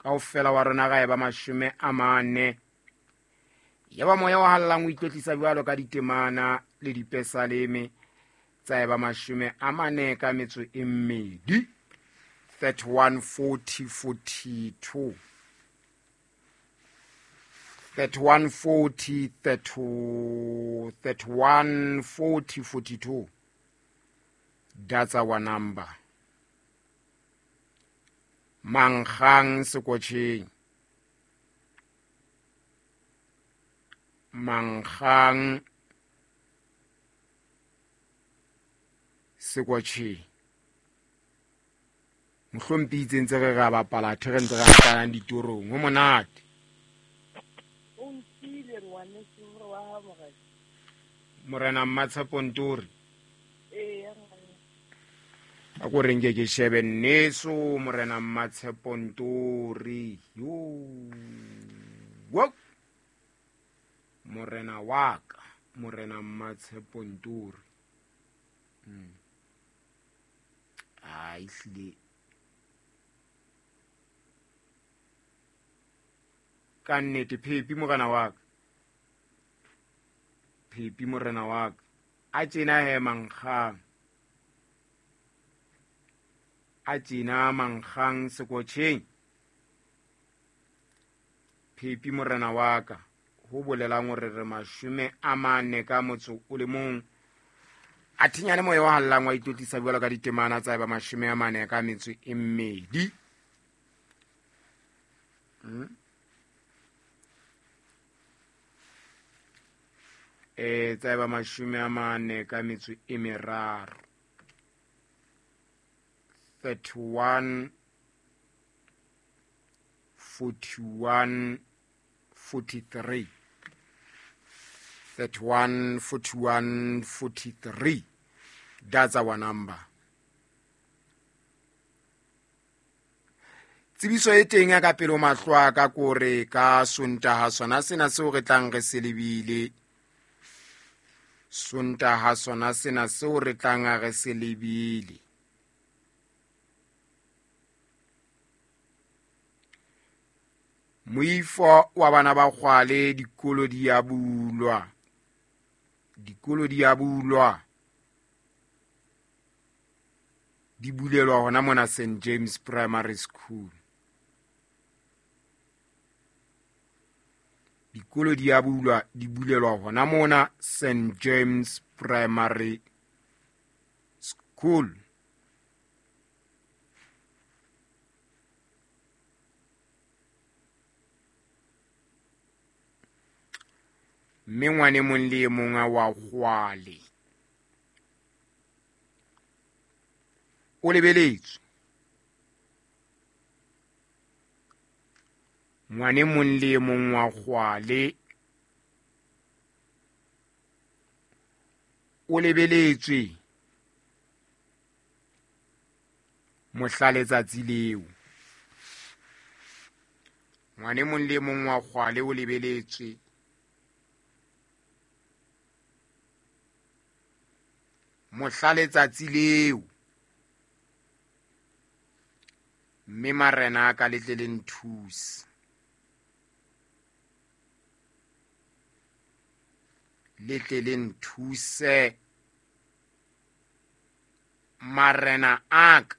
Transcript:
Kaofela wa rona ra eba 40. Yaba moya o hallang o itlotlisa jwalo ka ditemana le dipesaleme tsa eba 42. 31 40 42. 31 40 31 40 42. That's our number. Mankgang sekotjheng. Mankgang sekotjheng. Mohlompi itse ntse re ra bapala the re ntse re hatanang ditorong. Ho monate. O nkile ngwaneso hore wa ha morena. Morena Mmatshepo Ntori. Ee, ngwane. A ko re nke ke shebe nneso Morena Mmatshepo Ntori. Yo. Wo. Morena wa ka, Morena Mmatshepo Ntori. Ai hlile. Ka nnete Phepi morena wa ka. Phepi morena wa ka. A tjena he mankgang. A tjena mankgang sekotjheng. Phepi morena wa ka. Ho bolelang hore re 41. A thinyane moya wa hallang wa itlotlisa jwalo ka ditemana tsa eba 42. Tsa eba 43. 31 41 43. 31 41 43. That's our number. Tsebiso e teng ya ka pele ho mahlo a ka kore ka Sontaha sona sena seo re tlang re se lebile. Sontaha sona sena seo re tlang re se lebile. Moifo wa bana ba kgwale dikolo di a bulwa. Dikolo di a bulwa. Di bulelwa hona mona St James Primary School. Dikolo di a bulwa, di bulelwa hona mona St James Primary School. Mme ngwane mong le e mong wa kgwale o lebeletswe. Ngwane mong le e mong wa kgwale o lebeletswe mohla letsatsi leo. Ngwane mong le e mong wa kgwale o lebeletswe mohla letsatsi leo. Mme marena a ka le tle le nthuse. Le tle le nthuse marena a ka.